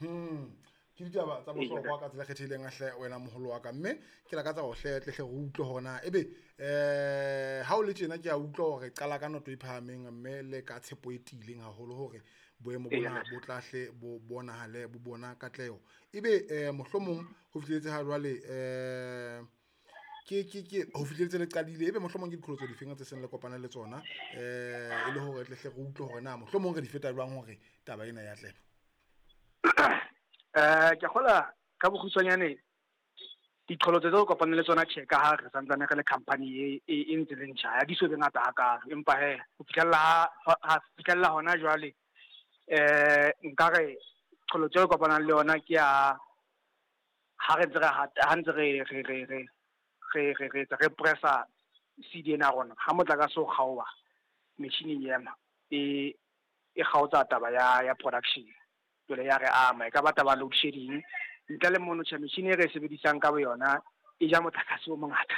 Ke ditaba tsa bohlokwa ka tsela e kgethehileng hle wena moholo wa ka, mme ke lakatsa hore hle tle hle re utlwe hore na ebe ha o le tjena ke a utlwa hore qala ka noto e phahameng mme le ka tshepo e tiileng haholo hore boemo bona bo tla hle bo bonahale bo bona katleho. Ebe mohlomong ho fihletse ha jwale ke ho fihletse le qadile, ebe mohlomong ke diqholotso difeng tse seng le kopane le tsona e le hore tle hle re utlwe hore na mohlomong re di feta jwang hore taba ena ya atleha? Ke kgola ka bokgutshwanyane diqholotso tse kopaneng le tsona, tjhe, ka ha re santsane re le company e ntse le ntjha, ha di so be ngata hakalo, empa he ho fihlella hona jwale, nkare qholotso e kopanang le yona ke ya ha re ntse re ha ntse re re re re re re re re pressa CD ena ya rona, ha motlakase o kgaoha, machine e ema, e kgaotsa taba ya production. Jwale ya re ama, e ka ba taba load shedding. Ntle le mono, tjhe, machine e re e sebedisang ka boyona e ja motlakase o mongata.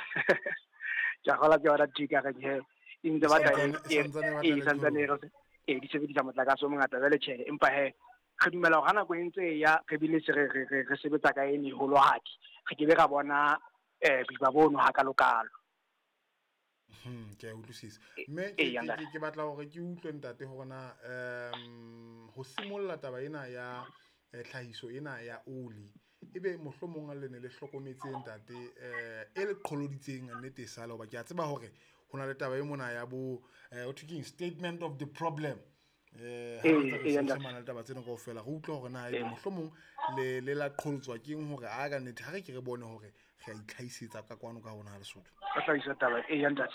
Ke a kgolwa ke yona ntho e ka reng he e ntse batla e santsane e di sebedisa motlakase o mongata. Jwale tjhe, empa he re dumela hore ha nako e ntse e ya, re bile se re sebetsa ka e meholohadi, re ke be ra bona boima bono hakalokalo. Ke a utlwisisa. Mme ke batla hore ke utlwe ntate hore na ho simolla taba ena ya tlhahiso ena ya oli, ebe mohlomong le ne le hlokometse ntate e le qholoditseng nnete e sale, hoba ke a tseba hore ho na le taba e mona ya bo ho thwe keng, statement of the problem. Ha re ntse re taba tsena kaofela, re utlwa hore na ebe mohlomong le la qholotswa keng hore a ka nnete ha re ke re bone hore re a itlhahisetsa ka kwano ka rona Lesotho. Ka hlahisa taba e ya ntate.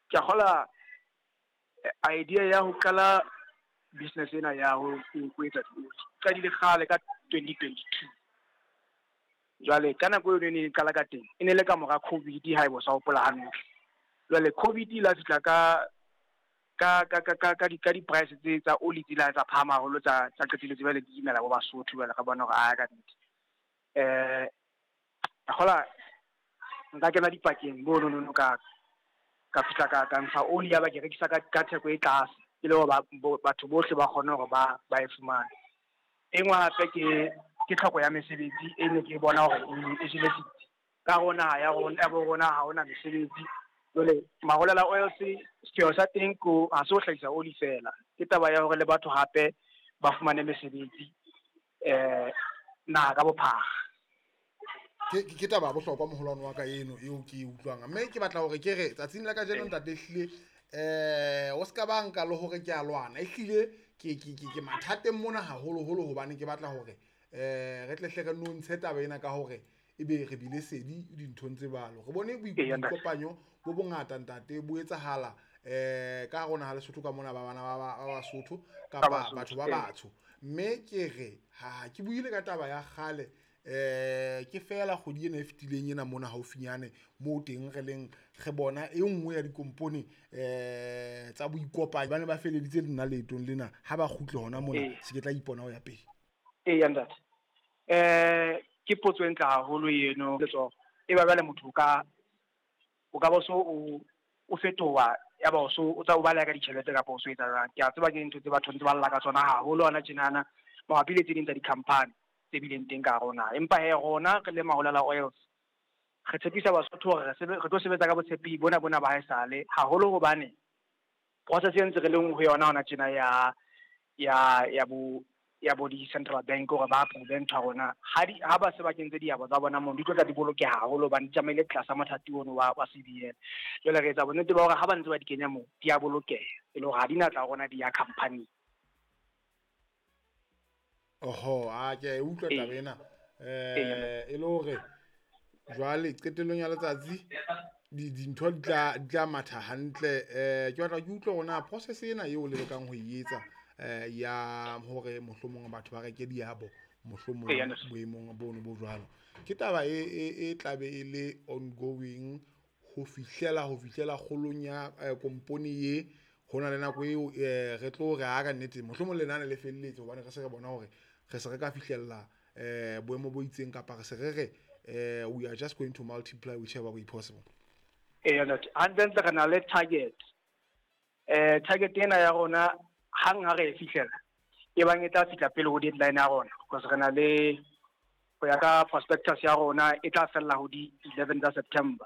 Ke a kgola idea ya ho qala business ena ya ho etsa dioli qadile kgale ka 2022. Jwale ka nako eo ne e qala ka teng, e ne le ka mora COVID, ha e bo sa hopola hantle. Jwale COVID la fihla ka di-price tse tsa oli tse la tsa phahama haholo, tsa qetelletse jwale di imela bo Basotho. Jwale re bona hore a ka nnete kgola nka kena dipakeng bo no ka fihla ka ntsha oli ya ba ke rekisa ka theko e tlase, e le hore batho bohle ba kgone hore ba e fumane. E nngwe hape ke tlhoko ya mesebetsi e ne ke bona hore e jele setsi ka rona ya rona ya bo rona, ha hona mesebetsi. Jwale Maholela Oils sepheo sa teng ko ha se ho hlahisa oli fela, ke taba ya hore le batho hape ba fumane mesebetsi naha ka bophara. Ke taba ya bohlokwa moholwane wa ka eno eo ke e utlwang, mme ke batla hore ke re tsatsing la kajeno ntate ehlile o ska ba nka le hore ke a lwana, ehlile ke mathateng mona haholoholo, hobane ke batla hore re tle hle re nontshe taba ena ka hore ebe re bile sedi dinthong tse balo. Re bone boikopanyo bo bongata ntate bo etsahala ka rona ha Lesotho ka mona, ba bana ba Basotho kapa batho ba batsho. Mme ke re ha ke buile ka taba ya kgale ke fela kgwedi ena e fetileng ena mona haufinyane moo teng re leng re bona e nngwe ya dikompone tsa boikopanyo ba ne ba feleditse le nna leetong lena, ha ba kgutle hona mona se ke tla ipona ho ya pele. Eya ntate, ke potso e ntle haholo eno. Letsoho e ba jwale motho o ka ba so o fetoha, ya ba o so o tsa o baleha ka ditjhelete kapa o so etsa jwang. Ke a tseba ke ntho tse batho ntse ba lla ka tsona haholo hona tjenana mabapi le tse ding tsa di-company tse bileng teng ka rona. Empa he rona re le Maholela Oils re tshepisa Basotho hore re tlo sebetsa ka botshepehi bona bona ba haesale haholo, hobane process e ntse re leng ho yona hona tjena ya bo di-Central Bank hore ba approve ntho ya rona. Ha ba se ba kentse diabo tsa bona mono, di tlo tla di bolokeha haholo hobane di tsamaile tlasa mothati ono wa CBN. Jwale re etsa bonnete ba hore ha ba ntse ba di kenya moo, di a bolokeha, e le hore ha di na tla rona di ya company. Oho, a ke a e utlwa taba ena. E le hore jwale qetellong ya letsatsi dintho di tla matha hantle. Ke batla ke utlwe hore na process ena eo le lekang ho e etsa ya hore mohlomong batho ba reke diabo mohlomong boemong bono bo jwalo, ke taba e tlabe e le ongoing ho fihlela kgolong ya kompone ye. Ho na le nako eo re tlo re ha ka nnete mohlomong lenane le felletse, hobane re se re bona hore re se re ka fihlella boemo bo itseng, kapa re se re re we are just going to multiply whichever way possible. Eya ntate, hantle re na le target. Target ena ya rona hang ha re e fihlela, E bang e tla fihla pele ho deadline ya rona, because re na le ho ya ka prospectus ya rona e tla fella ho di 11 tsa September.